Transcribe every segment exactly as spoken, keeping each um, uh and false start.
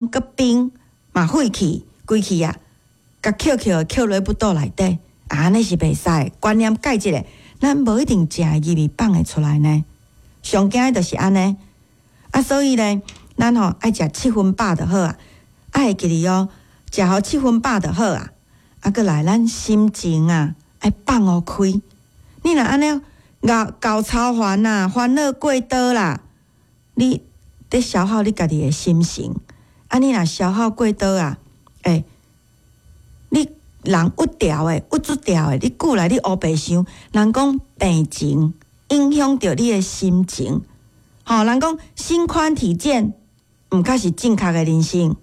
閣冰嘛廢去，規氣啊，共抾抾抾落腹肚內底，啊，按呢是袂使。觀念改一下，咱無一定食會入去放會出來呢。上驚的就是按呢，啊，所以咧，咱吼愛食七分飽就好啊，愛會記得哦，食予七分飽就好啊。啊，閣來咱心情啊，愛放予開。你若按呢𠢕𠢕操煩啊，煩惱過多啦，你佇消耗你家己的心神。啊，你若消耗過多啊，欸，你人鬱掉的，鬱卒掉的，你久來你烏白想，人講病情影響著你的心情。吼，人講心寬體健，毋較是正確的人生。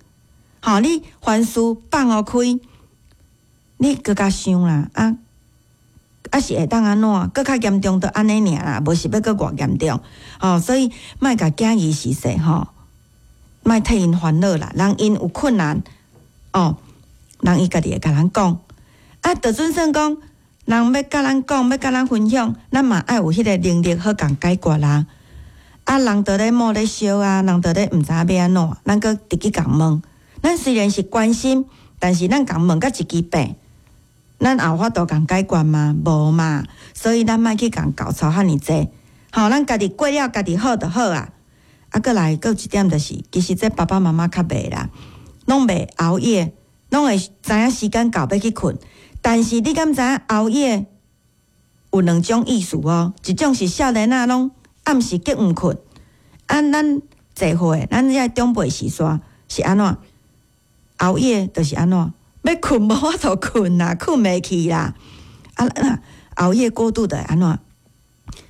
吼，你凡事放予開，你閣較想啦，啊，啊是會當按怎？閣較嚴重就按呢爾啦，無是欲閣偌嚴重。吼，所以莫共囝兒是說吼，莫替𪜶煩惱啦。人𪜶有困難，哦，人伊家己會共咱講。啊，就準算講，人欲共咱講，欲共咱分享，咱嘛愛有彼個能力好共解決啦。啊，人佇咧墓咧燒啊，人佇咧毋知影欲按怎，咱閣直去共問。咱雖然是關心，但是咱共問甲一支病，咱也有法度共解決嗎？無嘛。所以咱莫去共𠢕操遐爾濟。吼，咱家己過了家己好就好啊。啊，閣來閣有一點就是，其實這爸爸媽媽較袂啦，攏袂熬夜，攏會知影時間到欲去睏。但是你敢知影熬夜有兩種意思哦？一種是少年仔攏暗時激毋睏，啊，咱濟歲，咱這長輩時代是按怎？熬夜就是按怎？欲睏無法度睏啦，睏袂去啦。啊，熬夜過度就會按怎？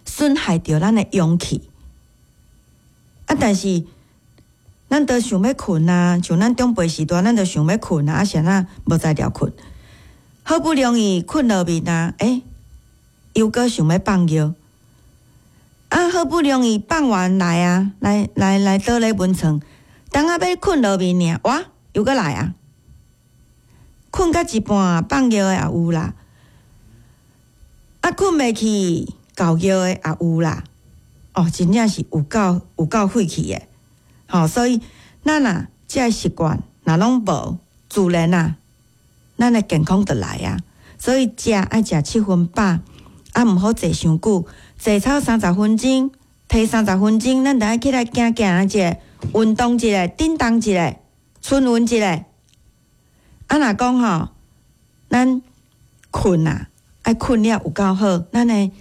損害著咱的陽氣。啊，但是咱都想欲睏啊，像咱長輩時代，咱都想欲睏啊，啊是按怎無才調睏？好不容易睏落眠啊，欸，又閣想欲放尿。啊，好不容易放完來啊，來來來倒咧眠床，當仔欲睏落眠爾，哇，又閣來啊！睏到一半放尿的也有啦，啊，睏袂去𠢕尿的也有啦。哦，真正是有夠有夠廢去的，吼，所以咱啊，這个習慣若攏無，自然啊，咱的健康就來啊。所以食愛食七分飽，啊，毋好坐傷久，坐超三十分鐘，提三十分鐘，咱著愛起來行行一下，運動一下，振動一下，春運一下。啊，若講吼，咱睏啊，愛睏了有夠好，咱的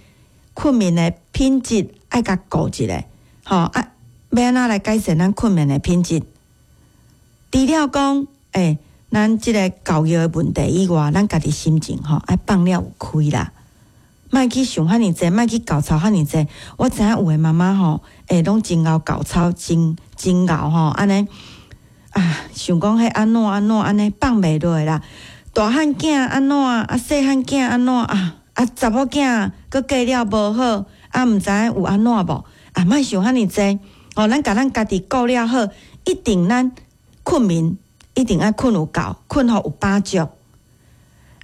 睏眠的品質愛共顧一下，吼啊，欲按怎來改善咱睏眠的品質？除了講，欸，咱這個𠢕尿的問題以外，咱家己心情吼愛放了有開啦，莫去想遐爾濟，莫去𠢕操遐爾濟。我知影有的媽媽吼，欸，攏真𠢕𠢕操，真真𠢕吼，按呢啊，想講彼按怎按怎按呢放袂落啦。大漢囝按怎啊，細漢囝按怎啊，啊，查某囝閣過了無好，啊，毋知影有按怎無？啊，莫想遐爾濟，吼，咱共咱家己顧了好，一定咱睏眠一定愛睏有夠，睏予有飽足。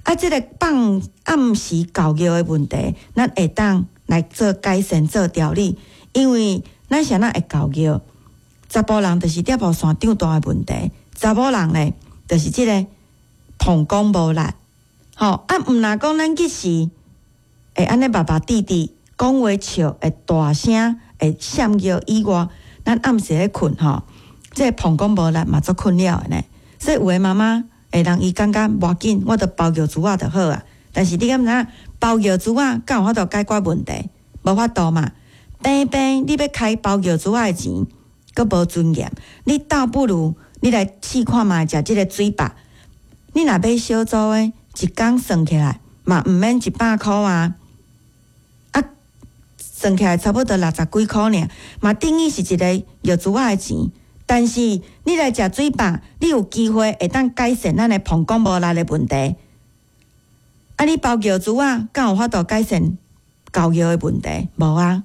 啊，這个放暗時𠢕尿的問題，咱會當來做改善、做調理。因為咱啥人會𠢕尿？查埔人就是攝護腺長大的問題，查某人咧就是這个膀胱無力。吼，啊，毋若講咱彼時會按呢峇峇滴滴講話笑會大聲會閃尿以外，咱暗時咧睏吼，這個膀胱無力嘛足困擾的呢。所以有的媽媽會人伊感覺無要緊，我著包尿珠仔就好啊。但是你敢知影包尿珠仔敢有法度解決問題？無法度嘛。平平你欲開包尿珠仔的錢，閣無尊嚴。你倒不如你來試看覓食這个水飽。你若買小組的，一工算起來嘛毋免一百箍啊。啊，算起來差不多六十幾箍爾，嘛等於是一个尿珠仔的錢。但是你來食水飽，你有機會會當改善咱的膀胱無力的問題。啊，你包尿珠仔，敢有法度改善𠢕尿的問題？無啊，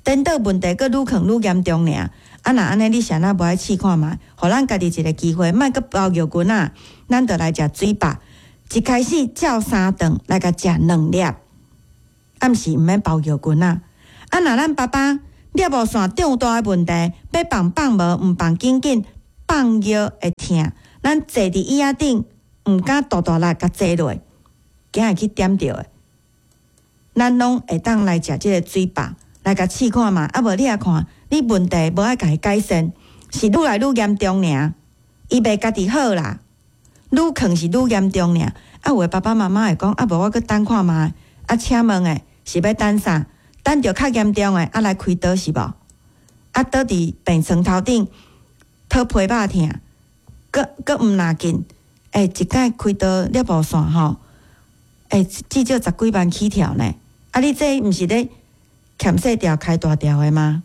顛倒問題閣愈囥愈嚴重爾。啊，若按呢，你啥若無愛試看覓？予咱家己一个機會，莫閣包尿棍仔，咱就來食水飽。一開始照三頓來共食兩粒，暗時毋免包尿棍仔。啊，若咱爸爸攝護腺長大的問題，欲放放無，毋放緊緊，放放藥會疼，咱坐佇椅仔頂，毋敢大大力共坐落，驚會去點著的。咱攏會當來食這个水飽，來共試看覓。啊無你也看，你問題無愛共伊改善，是愈來愈嚴重爾。伊袂家己好啦，愈囥是愈嚴重爾。啊，有的爸爸媽媽會講，啊無我閣等看覓。啊，請問的是欲等啥？等著較嚴重的，啊來開刀是無？啊，倒佇病床頭頂，討批肉疼，閣閣毋若緊。欸，一擺開刀了無線吼，欸，至少十幾萬起跳呢。啊，你這毋是咧欠細條開大條的嗎？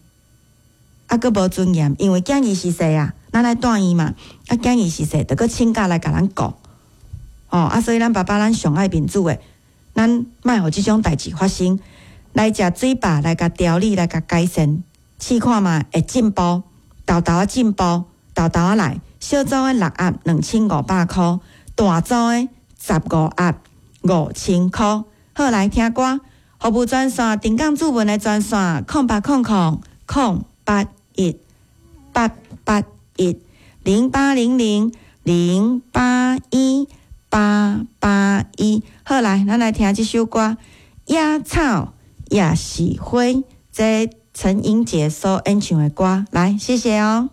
啊，閣無尊嚴，因為囝兒是細啊，咱愛帶伊嘛。啊，囝兒是細，著閣請假來共咱顧。哦，啊，所以咱爸爸咱上愛面子的，咱莫予這種代誌發生。來食水飽，來共調理，來共改善，試看覓會進步，沓沓仔進步，沓沓仔來。小組的六盒兩千五百箍，大組的十五盒五千箍。好，來聽歌，服務專線，定崗主文的專線：空八空空空八一八八一零八零零零八一八八一。好，來，咱來聽這首歌《野草也是花》，這陳英傑所演唱的歌。來，謝謝哦。